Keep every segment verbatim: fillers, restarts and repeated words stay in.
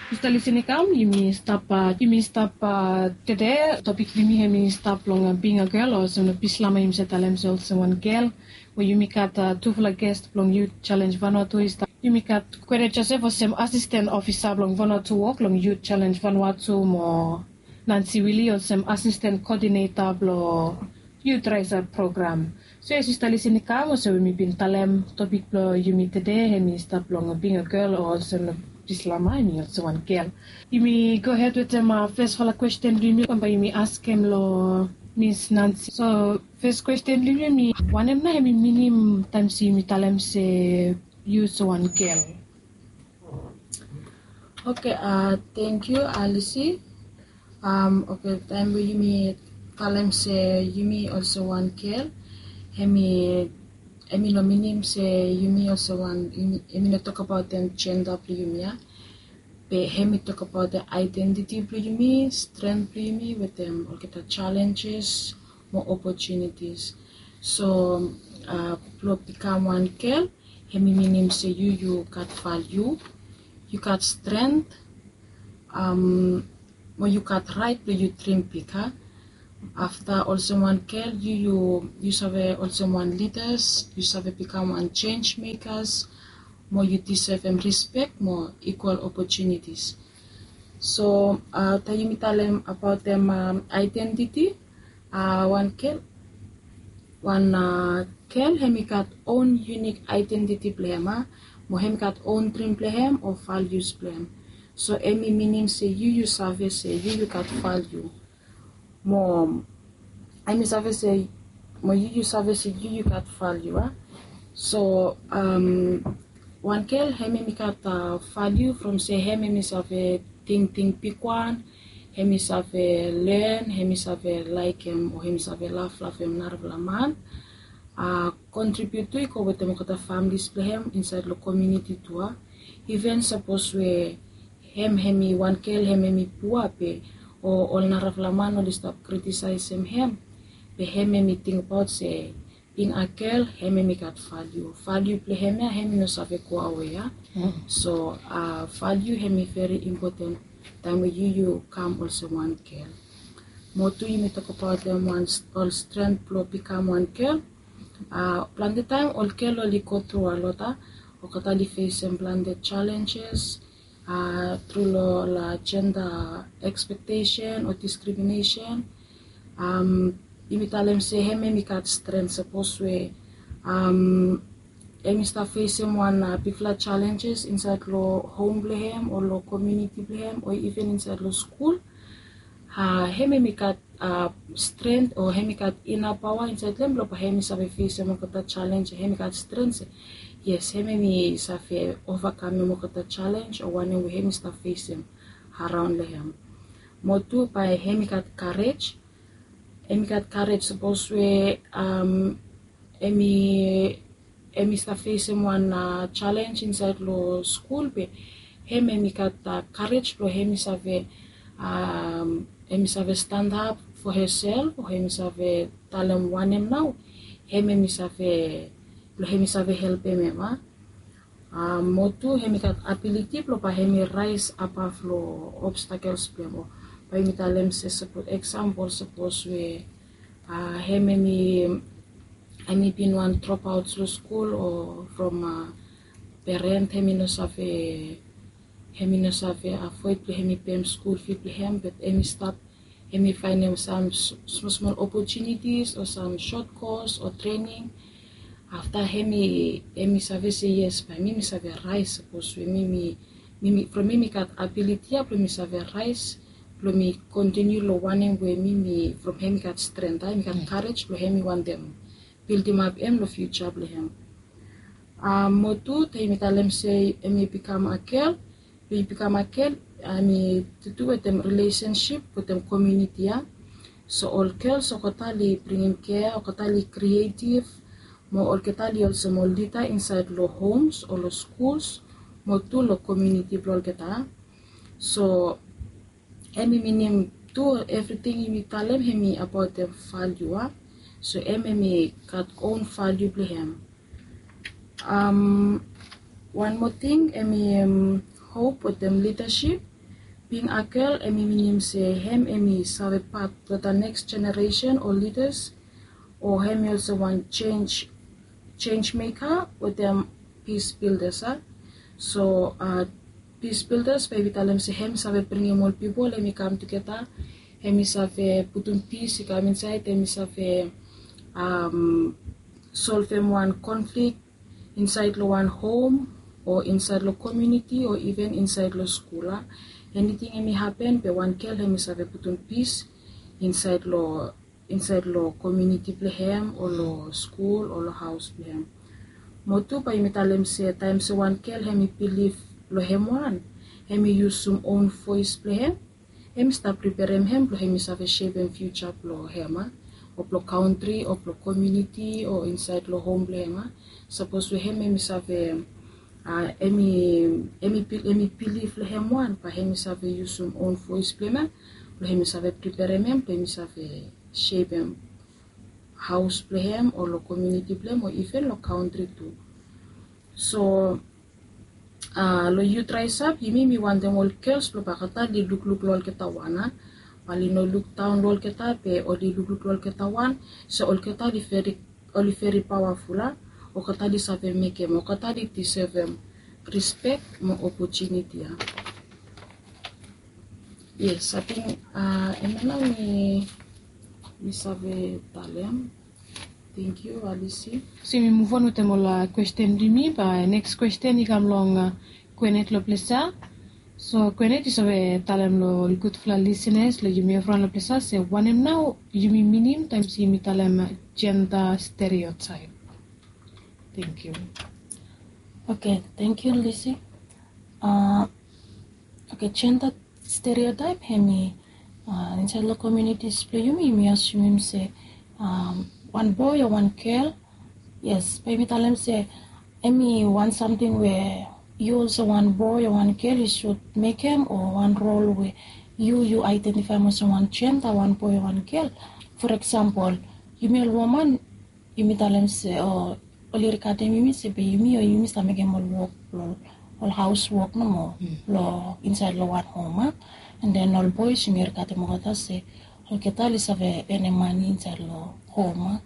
Mista Lisin i kam, yumi stap, yumi stap tede, topik blong yumi hemi stap long being a girl, o olsem na Bislama yumi save talem se olsem wan gel, we yumi gat tufala gest blong Youth Challenge Vanuatu i stap. Yumi gat Kwede Joseph olsem asisten ofisa blong Vanuatu wok long Youth Challenge Vanuatu mo Nancy Willie olsem asisten koodineta blong Youth Rise Up program. So yes, Sista Lisin i kam olsem we mi bin talem topik blong yumi tede, hemi stap long being a girl o olsem Bislama, hemi olsem wan gel. Yumi gohed wetem fesfala kwesten blong yumi, bambae yumi askem long Miss Nancy. So fes kwesten blong yumi, wanem nao hemi minim taem se yumi talem se yu olsem wan gel? Oke, thank you, Alice. Oke, taem we yumi talem se yumi olsem wan gel, hemi, hemi no minim se yumi olsem wan, hemi no tokbaot jenda blong yumi ya. Be hemi tokbaot aedentiti blong yumi, stren blong yumi wetem olgeta jalenjes mo opotunitis. So blong bikam wan gel, hemi minim se yu, yu gat valiu, yu gat stren, mo yu gat raet blong yu drim big. Afta olsem wan gel, yu, yu, yu save olsem wan lidas, yu save bikam wan jenj mekas, mo yu disevem rispek mo ikwal opotunitis. So taem yumi talem abaotem aedentiti, wan gel, wan gel hemi gat own unique aedentiti blong hem, mo hemi gat own drim blong hem o valius blong hem. So hemi minim se yu, yu save se yu, yu gat valiu. Mo hemi save se, mo yu, yu save se yu, yu gat valiu. So wan gel, hem hemi gat valiu from se hem hemi save tingting bigwan, hemi save len, hemi save laekem o hemi save lavlavem narafala man. Kontribiut tu i go wetem olgeta familis blong hem insaed long komuniti tu. Iven sapos we hem, hemi wan gel, hem hemi pua be o ol narafala man oli stap kritisaesem hem, be hem hemi tingbaot se bing a gel, hem hemi gat valiu. Valiu blong hem ya, hem i no save goawe ya. So valiu hemi veri impoten taem we yu, yu kam olsem wan gel. Mo tu yumi tokbaotem wan ol stren blong bikam wan gel. Plante taem ol gel oli go tru a lot, olgeta oli fesem plante jalenjes tru long ol jenda ekspektesen o diskriminesen. Yumi talem se hem, hemi gat stren sapos we hem i stap fesem wan bigfala jalenjes insaed long hom blong hem o long komuniti blong hem o iven insaed long skul. Hem, hemi gat stren o hemi gat ina paoa insaed long hem blong bae hemi save fesem olgeta jalenj, hemi gat stren se yes, hem, hemi save ovakamem olgeta jalenj o wanem we hemi stap fesem araon long hem. Mo tu bae hemi gat karej, hemi gat karej sapos we hemi, hemi stap fesem wan jalenj insaed long skul be hem, hemi gat karej blong hemi save, hemi save stanap fo hesel o hemi save talem wanem nao hem, hemi save, blong hemi save helpem hem. Mo tu hemi gat abiliti blong bae hemi raes abav long obstakels blong hem. Bae yumi talem se sapos eksampol, sapos we hem, hemi, hemi bin wan dropout long skul o from peren, hemi no save, hemi no save afoed blong hemi pem skul fi blong hem, be hemi stap, hemi faenem sam smosmol opotunitis o sam sot kos o trening. Afta hemi, hemi save se yes, bae mi, mi save raes sapos we mi, mi, from mi, mi gat abiliti ya blong mi save raes blong mi kontiniu long wanem we mi, mi from hem i gat stren, hem i gat karej blong hem i wantem bildimap hem long fiuja blong hem. Mo tu taem yumi talem se hemi bikam a gel, blong yu bikam a gel, hemi tu tu wetem rilesensip wetem komuniti ya. So ol gels olgeta oli bringim kea, olgeta oli krietiv, mo olgeta oli olsem ol lida insaed long homs o long skuls mo tu long komuniti blong olgeta. So hemi minim tu evriting yumi talem hemi abaotem valiu. So hem, hemi gat own valiu blong hem. Wan moa ting, hemi hop wetem lidasip. Bing a gel em i minim se hem em i save pat long the next generation o leaders, o hem i olsem wan change change maker wetem peace builders a. So uh, peace builders bae yumi talem se hem i save bringim ol pipol hem i kam tugeta, hem i save putum peace i kam insaed, hem i save um, solvem wan conflict insaed long wan hom, o insaed long community, o even insaed long skul a. Eniting hem i hapen be wan gel hem i save putum peace insaed long insaed long community blong hem o long skul o long haos blong hem. Mo tu bae yumi talem se taem se wan gel hem i bilif long hem wan, hem i yusum own voes blong hem, hem i stap priperem hem blong hem i save sepem fiuja blong hem a, o blong kantri o blong community o insaed long hom blong hem a. Sapos we hem hem i save a, hem i bilif long hem wan bae hem i save yusum own voes blong hem ya, blong hem i save priperem hem blong hem i save sepem haos blong hem o long community blong hem o even long kantri tu. So a long yut raesap yumi mi wantem ol gels blong bakata oli lukluk long olgeta wan a, bae oli no lukdaon long olgeta be oli lukluk long olgeta wan, se olgeta oli veri oli veri pawaful a, olgeta oli save mekem, olgeta oli disevem rispek mo opotuniti a. Yes, ating a, hemia nao mi mi save talem. Thank you Alisi. So yumi move on wetem ol kwesten blong yumi, bae next kwesten i kam long a, Kwenet long ples ya. So Kwenet i save talem long ol gudfala lisenas long yumi evriwan long ples ya se wanem nao yumi minim taem se yumi talem jenda stereotaep. Thank you. Okay, thank you Lisi. Uh, okay, jenda stereotaep hem i uh, insaed long communities blong yumi yumi asumim se um, wan boe o wan gel. Yes, bae yumi talem se hem i wan samting we yu olsem wan boe o wan gel yu sud mekem, o wan rol we yu yu aedentifaem olsem wan jenda, wan boe o wan gel. For example, yumi ol woman yumi talem se o oli rigatem yumi se be yumi o yumi stap mekem ol wok blong ol haos wok nomo long insaed long wan hom a. And then ol boes yumi rigatem olgeta se olgeta oli save enem mane insaed long hom a.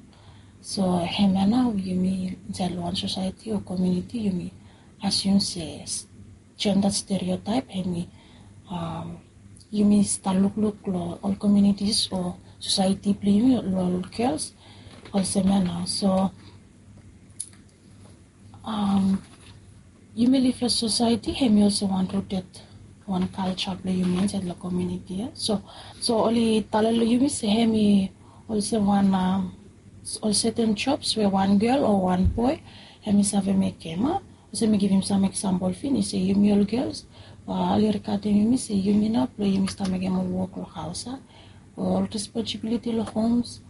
So hemia nao yumi insaed long wan sosaeti o komuniti yumi asum se jenda stereotaep hem i um, yumi stap lukluk long ol komunitis o sosaeti blong yumi long ol gels olsem ya nao. So um, yumi liv long sosaeti hem i olsem wan ruted wan kalja blong yumi insaed long komuniti ya. So so oli talem long yumi se hem i olsem wan um, ol seten jobs we wan gel o wan boe hem i save mekem a. Olsem mi givim sam eksampol finis se yumi ol gels, oli rigatem yumi se yumi nao blong yumi stap mekem ol wok long haos a, ol responsibiliti long homes,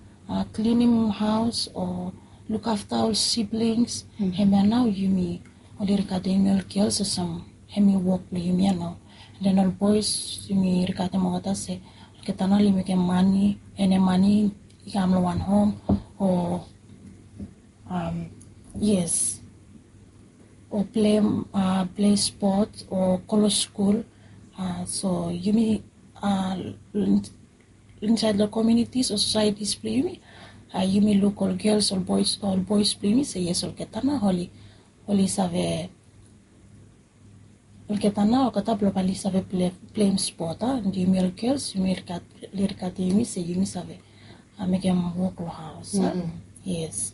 klinim haos o lukafta ol siblings. Hemia nao yumi oli rigatem yumi ol gels olsem hem i wok blong yumi ya nao. And then ol boes yumi rigatem olgeta se olgeta nao oli mekem mane, enem mane i kam long wan hom o um, yes, o plei uh, plei spot o go long skul. Uh, so yumi uh, insaed long komunitis o sosaetis blong yumi uh, yumi luk ol gels ol boes ol boes blong yumi se yes olgeta nao oli oli save olgeta nao olgeta blong bae oli save pleim spot a. And yumi ol gels yumi rigat oli rigatem yumi se yumi save mekem wok long haos a. Yes.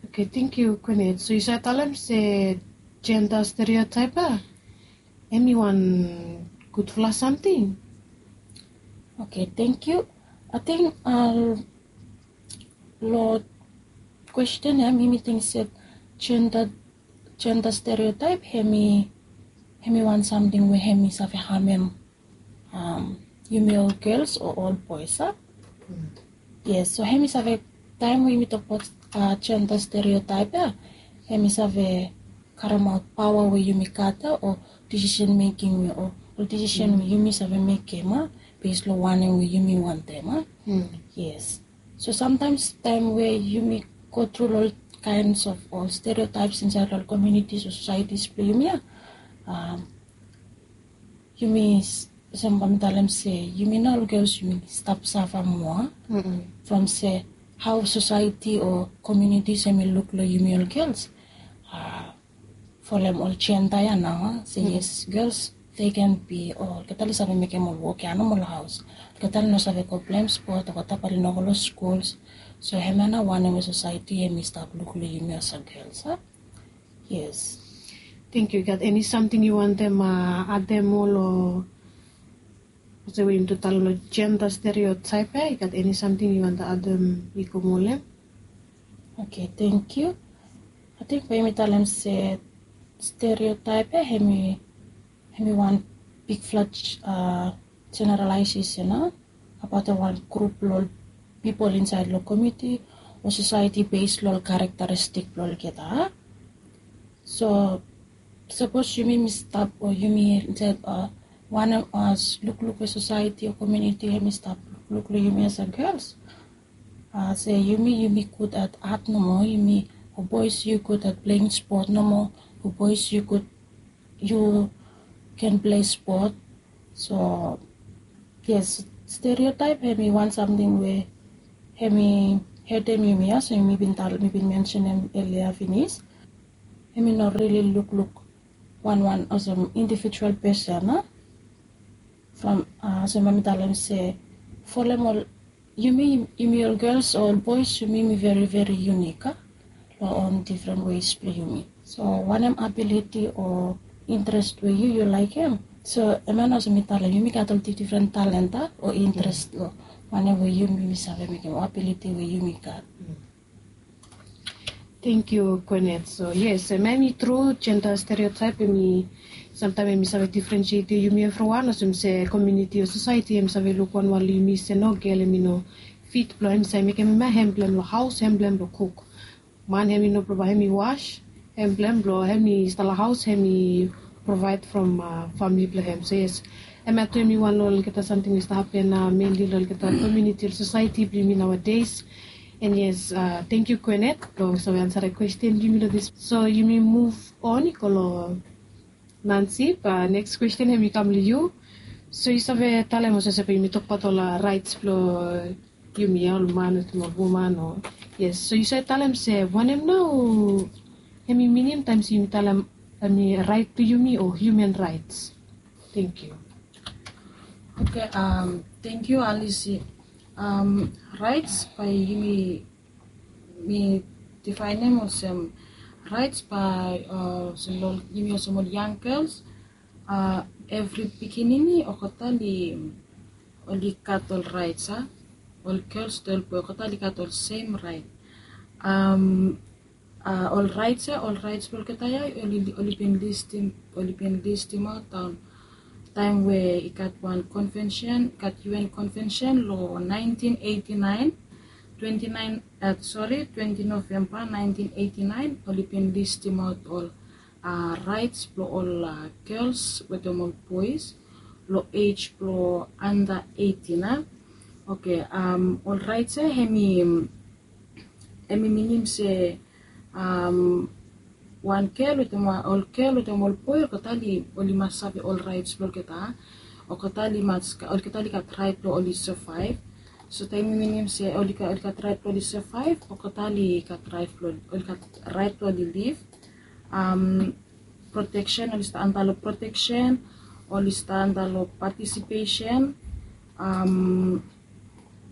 Okay, thank you Kwenet. So yu save talem se jenda stereotaep a hem i wan gudfala samting. Okay, thank you. Ating long kwesten ya mi mi ting se jenda jenda stereotaep hem i hem i wan samting we hem i save hamem um, yumi ol gels o ol boes a. Yes, so hem i save taem we yumi tokbaot uh, jenda stereotaep ya hem i save karemaot paoa we yumi gat ya o disisen meking we o ol disisen we yumi save mekem a, bes long wanem we yumi wantem a. Yes. So samtaems taem we yumi go tru long ol kaens of ol stereotaeps insaed long ol komunitis o sosaetis blong yumi ya, yumi Olsem bae mi talem se yumi nao ol gels yumi stap safa moa from se hao sosaeti o komunitis hemi luk long yumi ol gels. Folem ol jenda ya nao se yes, gels they can be, olgeta oli save mekem ol wok ya nomo long haos. Olgeta oli no save go pleim spot, olgeta bae oli no go long skuls. So hemia nao wanem we sosaeti hemi stap luk long yumi olsem gels a. Yes. Thank you. I gat eni samting yu wantem adem moa long olsem we yumi tu talem long jenda stereotaep ya? I gat eni samting yu wantem adem i go moa long hem? Oke, thank you. Ating bae yumi talem se stereotaep ya hemi hemi wan bigfala jeneralaesesen abaot wan grup blong ol pipol insaed long komuniti o sosaeti bes long ol karakteristik blong olgeta. So sapos yumi mi stap o yumi insaed wanem lukluk we sosaeti o komuniti hemi stap lukluk long yumi olsem gels, se yumi yumi gud at at nomo, yumi o boes yu gud at pleim spot nomo, o boes yu gud yu ken plei spot. So yes, stereotaep hemi wan samting we hemi hetem yumi ya, olsem mi bin tal mi bin mensenem elia finis. Hemi no rili lukluk wanwan olsem indivijual pesen a. From olsem bae mi talem se folem ol yumi yumi ol gels o ol boes yumi yumi veri veri yunik a long ol difren wes blong yumi. So wanem abiliti o interes we yu yu laekem, so hemia nao olsem mi talem yumi gat ol difdifren talent a o interes long wanem we yumi yumi save mekem o abiliti we yumi gat. Thank you, Gwyneth. So yes, hemia hemi tru, jenda stereotaep hemi samtaem hemi save difrensietem yumi evriwan olsem se komuniti o sosaeti hemi save luk wanwan long yumi se no, gel hemi no fit blong hem i save mekem hemia, hem blong hem long haos, hem blong hem long kuk. Man hemi no provide, hemi was, hem blong hem blong hemi stap long haos, hemi provide from famili blong hem. So yes, hemia tu hemi wan long olgeta samting we i stap hapen menli long olgeta komuniti, ol sosaeti blong yumi naoades. And yes, thank you Gwyneth blong save ansarem kwesten blong yumi long dis. So yumi muv on i go long Nancy, bae neks kwesten hemi kam long yu. So yu save talem olsem se bae yumi tokbaot ol raets blong yumi ya, ol man wetem ol woman o. Yes, so yu save talem se wanem nao hemi minim taem se yumi talem hemi raet blong yumi o hiuman raets? Thank you. Oke, thank you Alice. Raets bae yumi mi difaenem olsem raets bae olsem long yumi olsem ol yang gels, evri pikinini olgeta oli gat ol raets a. Ol gels wetem ol boe olgeta oli gat ol sem raet. Ol raets ya, ol raets blong olgeta ya oli bin listim, oli bin listimaot daon taem we i gat wan konvensen, i gat U N konvensen long naentin eiti naen, twenti naen, sori, twenti Novemba naentin eiti naen, oli bin listimaot ol raets blong ol gels wetem ol boes long ej blong anda eitin a. Oke, ol raets ya hemi hemi minim se wan gel wetem ol gel wetem ol boe olgeta oli mas save ol raets blong olgeta. Olgeta oli mas, olgeta oli gat raet blong oli savaev. So taem i minim se oli gat raet blong oli savaev, olgeta oli gat raet blong oli liv. Proteksen, oli stap anda long proteksen, oli stap anda long patisipesen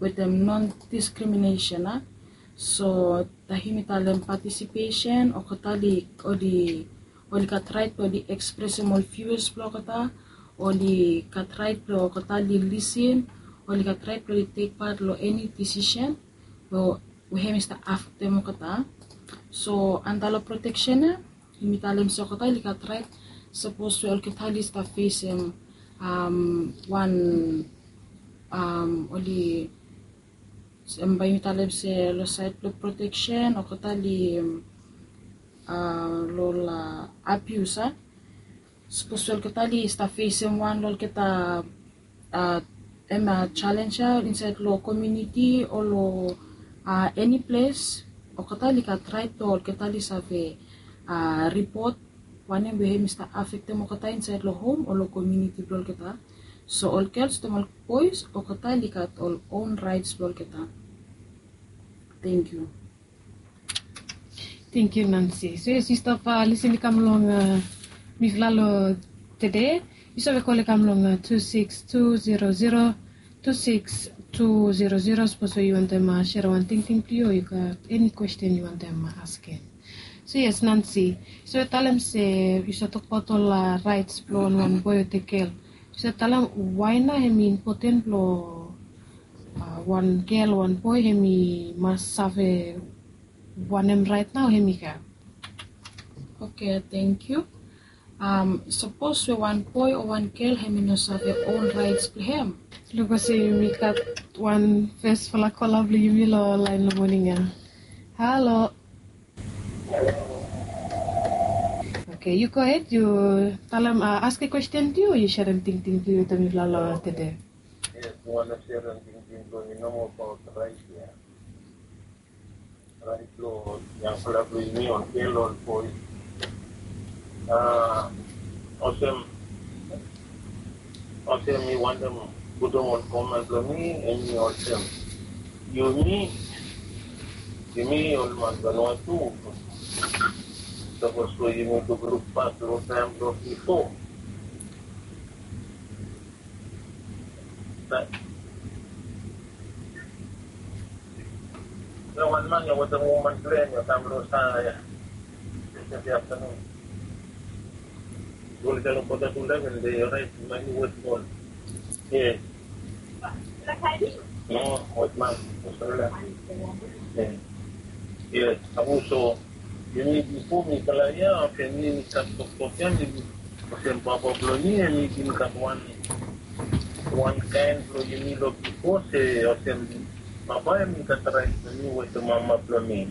wetem non diskriminesen a. So taem yumi talem patisipesen, olgeta oli oli oli gat raet blong oli ekspresem ol vius blong olgeta, oli gat raet blong olgeta oli lisin, oli gat raet blong oli tek pat long eni disisen we hemi stap afektem olgeta. So anda long proteksen ya yumi talem se olgeta oli gat raet sapos we olgeta oli stap fesem wan oli bae yumi talem se long saed blong proteksen olgeta oli long abius a. Sapos we olgeta oli stap fesem wan long olgeta hemia jalens ya insaed long komuniti o long eni ples, olgeta oli gat raet blong olgeta oli save ripot wanem we hemi stap afektem olgeta insaed long hom o long komuniti blong olgeta. So ol gels wetem ol bois olgeta oli gat ol own raets blong olgeta. Thank you. Thank you, Nancy. So yes, yu stap, uh, listen i kam long, uh, mifala long tede. Yu save call i kam long, uh, two six two zero zero two six two zero zero. Sapos we yu wantem, uh, share wan tingting blong yu, o yu gat eni question yu wantem, uh, askem. So yes, Nancy, yu save talem se yu save tokbaot ol, uh, raets blong wan boi o te gel. Yu save talem why nao hemi impoten blong, uh, wan gel, wan boi hemi mas save wanem raet nao hemi gat. Okay, thank you. Um, sapos we wan boi o wan gel hemi no save own raets blong hem. Luk olsem yumi gat wan fesfala kola blong yumi long laen long moning ya. Halo. Okay, yu go ahead, yu talem, uh, askem question blong yu, yu serem tingting blong yu wetem mifala long tede. Yes, mi wantem serem tingting blong mi nomo abaot raet ya. Raet blong yangfala blong yumi, ol gel, ol boi. Ah, olsem, olsem mi wantem putum ol komen blong mi, hemi olsem. Yumi, yumi ol man Vanuatu, sapos we yumi lukluk bak long taem blong bifo. Be, be wan man ya wetem woman blong hem ya kam long save ya. Yestede aftanun. Olgeta long kota tu eleven, be, orait, man, yu wet smol. Yes. No, wet man. Australia. Yes. Yes, abu so. Yumi bifo mifala ya, olsem mi, mi stap toktok ya, mi, olsem papa blong mi, hemi bin gat wan, wan kaen blong yumi long bifo, se olsem papa hemi gat raet blong mi wetem mama blong mi.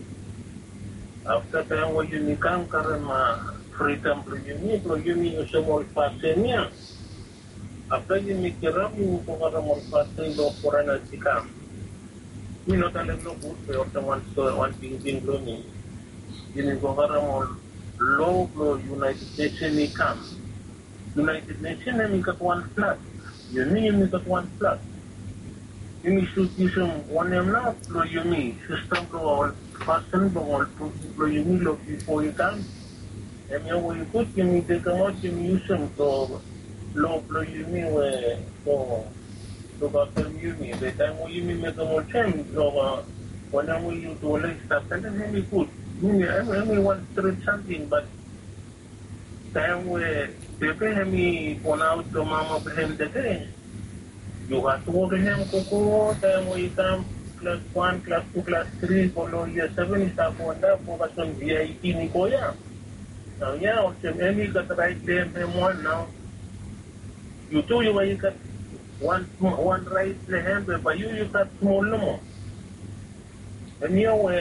Afta taem we yumi kam karem, ah, fridom blong yumi, blong yumi yusum ol fasin ya. Afta yumi kirap, yumi go karem ol fasin blong forenas i kam. Mi no talem nogud, be olsem wan, wan tingting blong mi. Yumi go karem ol loa blong United Nation i kam. United Nation hemi gat wan flag. Yumi, yumi gat wan flag. Yumi sud yusum wanem nao blong yumi, sistem blong ol fasin blong ol pipol blong yumi long bifo i kam. Hemia we i gud yumi tekemaot, yumi yusum long loa blong yumi we long lukaftem yumi. Be taem we yumi mekem olsem, long, ah, wanem we yu tu oli stap talem, hemi gud. Hemi, hemi, hemi wan stret samting, bat taem we bebe hemi bonaot long mama blong hem tede, yu gat tu wok long hem gogo, taem we i kam klas wan, klas tu, klas tri, go long yia seven, i stap go antap, go kasem yia eitin i go ya. Nao ya, olsem hemi gat raet blong hem, hem wan nao. Yu tu, yu bae yu gat wan, wan raet blong hem, be bae yu, yu gat smol nomo. Hemia we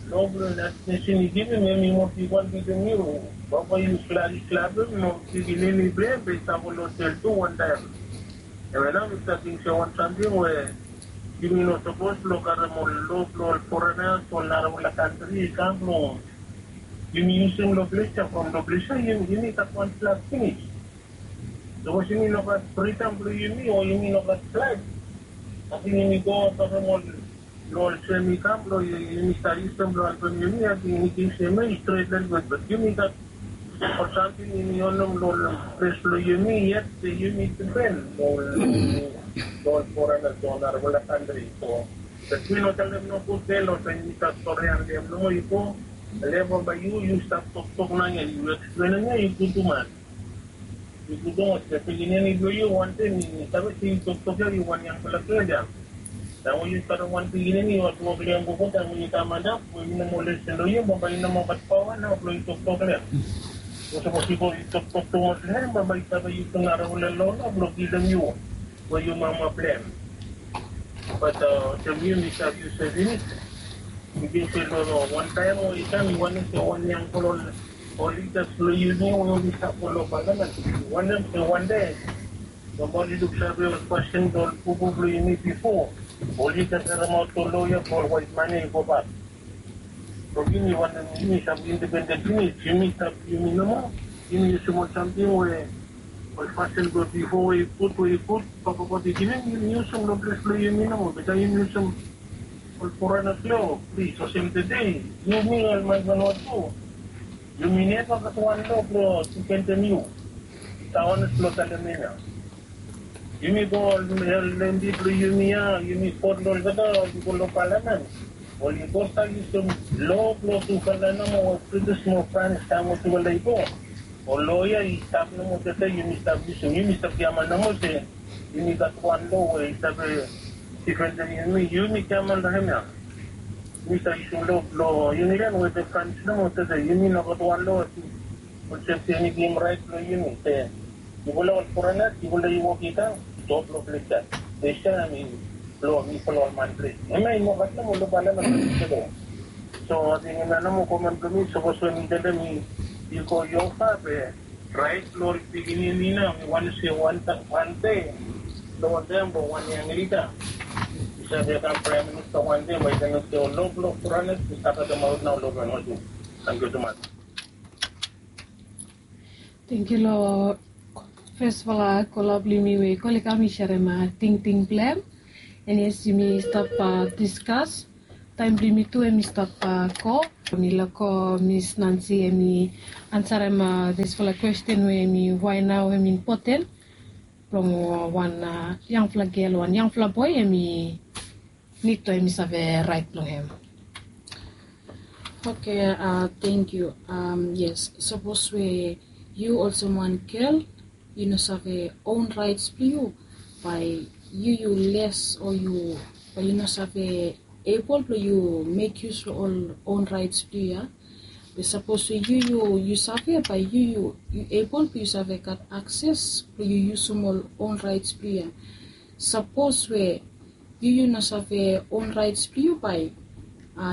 loa blong United Nation i givim, hemi moa bigwan blong yu. Bambae yu klari, klari, mo pikinini blong hem, be i stap go long jel tu wantaem. Hemia nao mi save ting se wan samting we yumi no sapos blong karem ol loa blong ol forenas, ol narafala kantri i kam blong yumi yusum long ples ya, from long ples ya yumi, yumi gat wan flag finis. Sapos yumi no gat fridom blong yumi, o yumi no gat flag, ating yumi go karem ol, long ol sem i kam blong yumi stap yusum blong helpem yumi, ating yumi ting se hemia i stret lelebet, bat yumi gat ol samting yumi onem long ol ples blong yumi, yet se yumi dipen long ol, long ol forenas, long ol narafala kantri. So, bat mi no talem nogud, be long taem yumi stap stori, talem nomo, yu go, talem bambae yu, yu stap toktok nao ya, yu eksplenem ya, yu gud tumas. Yu gud tumas, be pikinini blong yu, wantaem mi save se yu toktok ya, yu wan yangfala gel ya. Taem we yu karem wan pikinini, yu gat wok long hem gogo, taem we yu kam antap, we i no moa lesen long yu, bambae i no moa gat paoa nao blong yu toktok long hem. Sapos yu go yu toktok tumas long hem, bambae i save yusum narafala loa nao blong kilim yu, we yu mama blong hem. Bat, ah, olsem yu, mi save yu se finis. Mi ting se long, long wantaem we i kam, mi wantem se wan yangfala ol, ol lidas blong yumi we oli stap go long palamen, mi wantem se wande bambae oli luksave ol fasin blong ol pupul blong yumi bifo, oli gat karemaot ol loa ya blong ol waet man ya i gobak. Blong yumi wantem yumi stap independen finis, yumi stap yumi nomo, yumi yusum ol samting we Ol fasin blong bifo we i gud, we i gud, papa God i givim, yumi yusum long ples blong yumi nomo. Be taem yumi yusum ol forenas lo, plis, olsem tede, yumi ol man blong Vanuatu, yumi neva gat wan lo blong difendem yu. Taones blong talem ya. Yumi go ol lembi blong yumi ya, yumi kot long olgeta, ol i go long palamen. Ol i go stap yusum lo blong tufala nomo, ol British mo Frans taem ol tufala i go. Ol loya i stap nomo tede, yumi stap yusum, yumi stap giaman nomo se yumi gat wan lo we i save difendem yumi, yumi giaman long hemia. Yumi stap yusum lo blong yumi len we de Frans nomo tede, yumi no gat wan lo. Olsem se yumi givim raet blong yumi se yufala ol forenas, yufala i wok i kam, stap long ples ya. Be se mi blong mifala ol man ples. Hemia i no gat nomo long palamen tede. So ating hemia nomo komen blong mi, sapos we mi talem i go Jehova be raet blong ol pikinini nao, mi wantem se wan ta-, wan dei long ol taem blong wan yang lida i save kam praem minista wan dei, bae i talem se ol lo blong forenas i stap katemaot nao long Vanuatu. Tangkiu tumas. Tangkiu long fesfala kola blong yumi we i go, i kam i serem tingting blong hem. An yes, yumi stap diskas. Taem blong yumi tu hemi stap go. Mi lako Miss Nancy hemi ansarem disfala kwesten we hemi, wae nao hemi impoten blong wan yangfala gel, wan yangfala boe hemi nid blong hemi save raet blong hem. Oke, tangkiu. Yes, sapos we yu olsem wan gel, yu no save own raets blong yu, bae yu yu les o yu, bae yu no save ebol blong yu mek yus long ol own raets blong yu ya. Be sapos we yu yu yu save, bae yu yu yu ebol blong yu save gat akses blong yu yusum ol own raets blong yu ya. Sapos we yu yu no save own raets blong yu, bae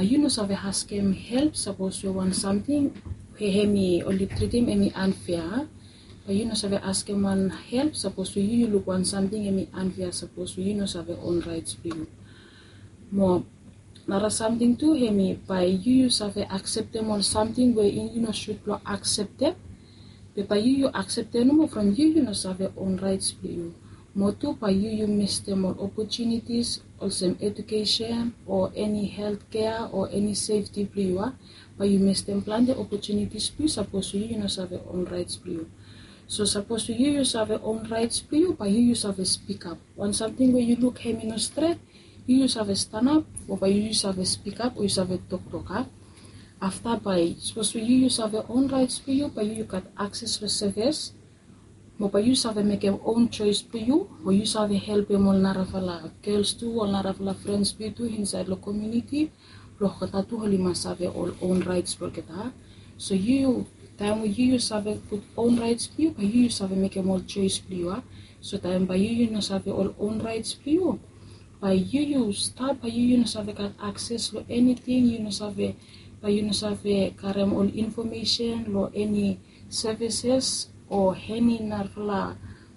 yu no save askem help sapos we wan samting we hemi oli tritim hemi anfea. Bae yu no save askem wan help sapos we yu yu luk wan samting hemi anfea sapos we yu no save own raets blong yu. Mo nara samting tu hemi bae yu yu save akseptem ol samting we yu no sud blong akseptem. Be bae yu yu akseptem nomo from yu yu no save own raets blong yu. Mo tu bae yu yu mistem ol opotunitis olsem edukesen o eni heltkea o eni sefti blong yu ya. Bae yu mistem plante opotunitis blong yu sapos yu yu no save own raets blong yu. So sapos yu yu save own raets blong yu, bae yu yu save spikap. Wan samting we yu luk hemi no stret, yu yu save stanap, o bae yu yu save spikap o yu save toktok a. Afta bae sapos we yu yu save own raets blong yu, bae yu yu gat akses long sevis. Mo bae yu save mekem own joes blong yu, mo yu save helpem ol narafala gels tu, ol narafala frens blong yu tu insaed long komuniti blong olgeta tu oli mas save ol own raets blong olgeta. So yu yu, taem we yu yu save gud own raets blong yu, bae yu yu save mekem ol joes blong yu a. So taem bae yu yu no save ol own raets blong yu, bae yu yu stap, bae yu yu no save gat akses long eniting, yu no save, bae yu no save karem ol infomesen long eni sevises o eni narafala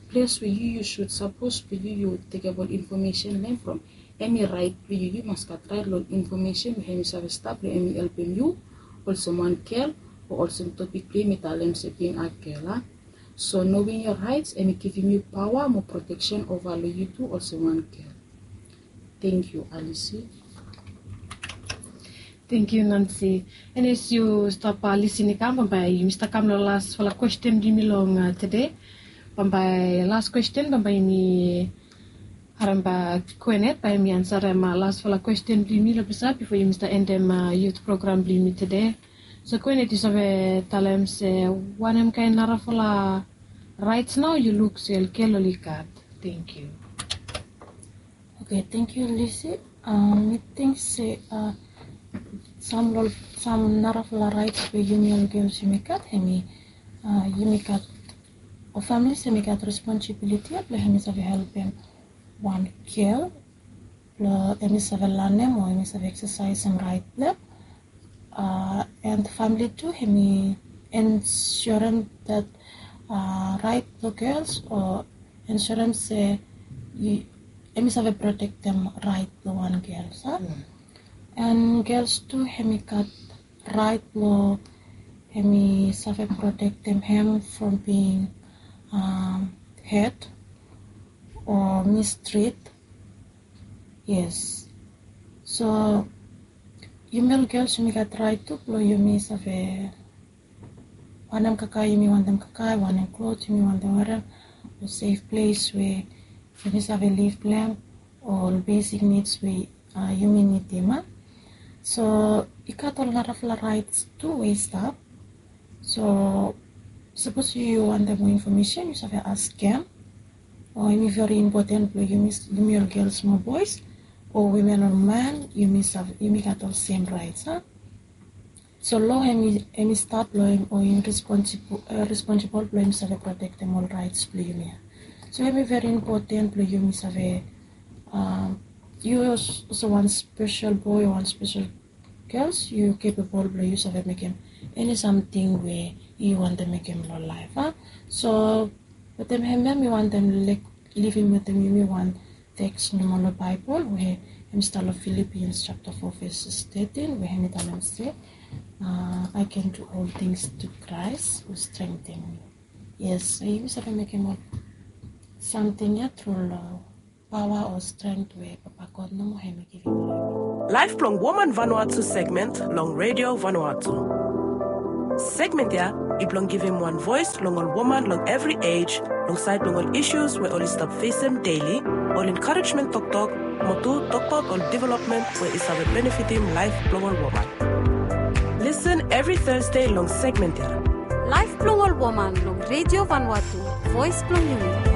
ples we yu yu sud sapos blong yu yu tekem ol infomesen long hem from. Hemi raet blong yu, yu mas gat raet long infomesen we hemi save stap long hemi helpem yu olsem wan gel o olsem topik blong yumi talem se bing a gel a. So knowing your rights hemi givim yu paoa mo proteksen ova long yu tu olsem wan gel. Tangkiu Alisi. Tangkiu Nancy. An yes yu stap lisin i kam, bambae yumi stap kam long lasfala kwesten blong yumi long tede. Bambae las kwesten, bambae yumi harem bak Kwenet bae hemi ansarem lasfala kwesten blong yumi long ples ya bifo yumi stap endem yut program blong yumi tede. So Kwenet, yu save talem se wanem kaen narafala raets nao yu luk se ol gel oli gat? Tangkiu. Oke, tangkiu Lisi. Mi ting se sam long ol, sam narafala raets we yumi ol gels yumi gat hemi, yumi gat, ol familis hemi gat responsibiliti ya blong hemi save helpem wan gel blong hemi save lanem o hemi save eksasaesem raet blong hem. An famili tu hemi ensurem dat raet blong gels o ensurem se hemi save protektem raet blong wan gel, sa? An gels tu hemi gat raet blong hemi save protektem hem from bing hed o mistrit. Yes. So yumi ol gels yumi gat rait tu blong yumi save wanem kakae yumi wantem kakae, wanem klos yumi wantem werem, o sef ples we yumi save liv blong em, o ol besik nids we yumi nidim. So i gat ol narafala raits tu we i stap. So sapos yu wantem moa infomesen yu save askem. O hemi veri impoten blong yumi ol gels mo boes o wimen o man, yumi gat ol sem raits. So lo hemi stat blong hem o hemi responsibol blong hem save protektem ol raits blong yumi ya. So hemi veri impoten blong yumi save, yu olsem wan spesel boe o wan spesel gels yu kepebol blong yu save mekem eni samting we yu wantem mekem long laef. So wetem hemia mi wantem livim wetem yumi wan teks nomo long Baebol we hem stap long Filipians japta fo ves tetin we hem i talem se, I can do all things through Christ who strengthen me. Yes, so yumi save mekem ol samting ya tru long paoa o strength we Papa God nomo hem i givim long yumi. Laef blong Woman Vanuatu segment long Radio Vanuatu. Segment ya i blong givim wan voes long ol woman long evri ej long saed blong ol isus we oli stap fesem deli, ol enkarejmen toktok, mo tu tokbaot ol developmen we i save benefitim laef blong ol woman. Lisen evri Tasde long segment ya. Laef blong ol woman long Radio Vanuatu, voes blong yumi.